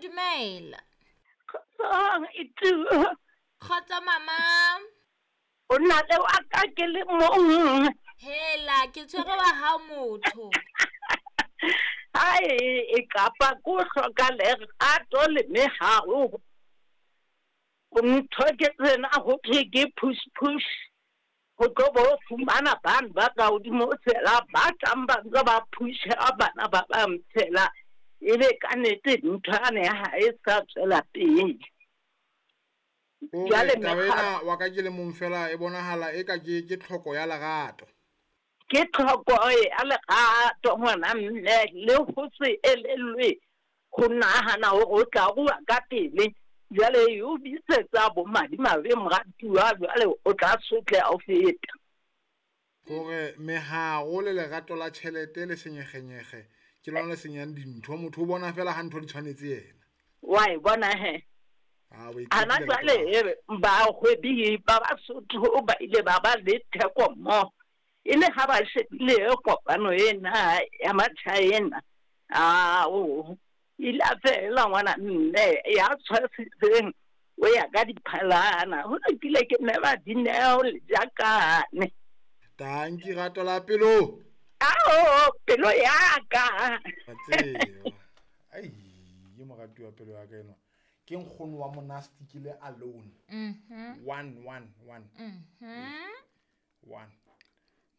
Dumela. Kgotsong itu. Kgotso mama. O na le wa ka ke le mong. Hela ke tshwere wa hao motho. Ai e kapa ko hloka lerato le meharo. Ntho ke tsena ho thwe ke push push. Ho tlo bo fumana bana ba ka hodimo fela ba tlang ba ntse ba phusha bana ba bang fela. Ebe ka nnete ntho yane ha e sa tswela pele. Jwale taba ena wa ka ke le mong fela e bonahala e ka ke tlhoko ya lerato. Ke tlhoko ya lerato ngwana mme le ho se elellwe ho nahana hore o tla rua ka pele. Jwale e o bitsetsa bo madimabe moratuwa, jwale o tla sotleha ho feta. Hore meharo le lerato la tjhelete le senyegenyege ke lona le senyang dintho. Motho o bona fela ha ntho di tshwanetse yena. Wa e bona he. Ana jwale bahwebi ba Basotho ba ile ba ba le theko mmoho. E le ha ba shebile kopano ena ya Machina. Ao ile a fela ngwana mme ya tshwasitseng o ya ka diphalana. Ho lokile ke mme ba Dineo le Jakane. Tanki rato la pelo. Ao pelo ya ka. Tseo. Ai, ye morati wa pelo ya ka eno. Ke nkgono wa monastic le alone. 1 1 1. 1.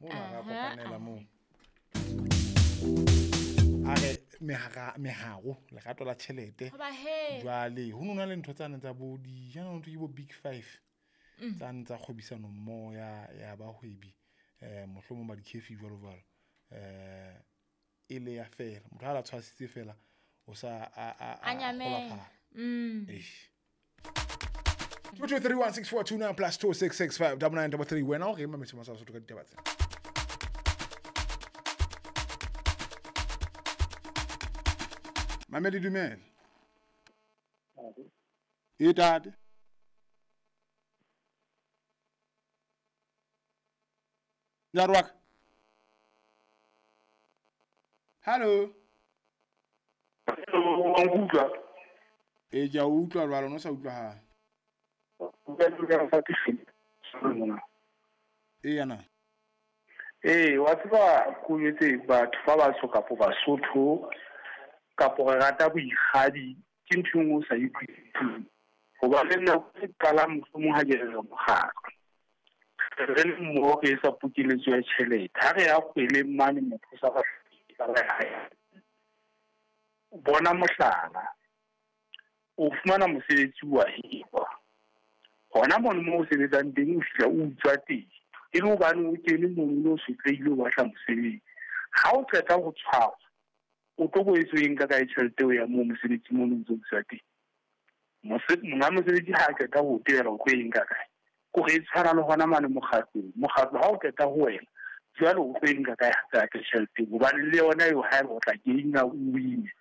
Mo ra kopanela mo. A re meharo lerato la tjhelete. Jwale ho nona le ntho tsane tsa bo di jana ntho ke bo big five. Tsane tsa kgwebisano mmoho ya bahwebi mohlomong ba di-cafe jwalo jwalo. E le ya fela. Motho ha la tshwasitse fela o sa a nyamela. Eish. 2 2 3 1 6 4 2 9 plus 2 6 6 5 9 9 3. Wena o re mametse masala Sotho ka ditaba tsena. Mamedi dumela. E tate. Jarwak. Hello. Hello, wa nkutlwa? E ke a utlwa jwalo, no sa utlwahala. E yana. Ee, wa tseba ko jwetse batho ba batsho kapo Basotho kapo re rata boikgadi ke ntho e nngwe o sa utlwisiseng. Hoba le nna ke qala mohlomong ha ke re mokgatlo. Re le mmoho re etsa pokeletso ya tjhelete. Ha re ya kgweleng mane motho sa ba bona mohlala. O fumana mosebetsi wa hirwa. Hona mono moo o sebetsang teng o fihla o utswa teng. E le hobane o kene mono o sotlehile o batla mosebetsi. Ha o qeta ho tshwarwa, o tlo boetse o e nka kae tjhelete eo ya moo mosebetsi mono o ntso utswa teng? Monga mosebetsi ha a qeta ho tebela o tlo e nka kae? Kore e tshwana le hona mane mokgatlong. Mokgatlo ha o qeta ho wena, jwale o tlo e nka kae hape hape tjhelete? Hobane le yona eo haeba o tla keina o wine.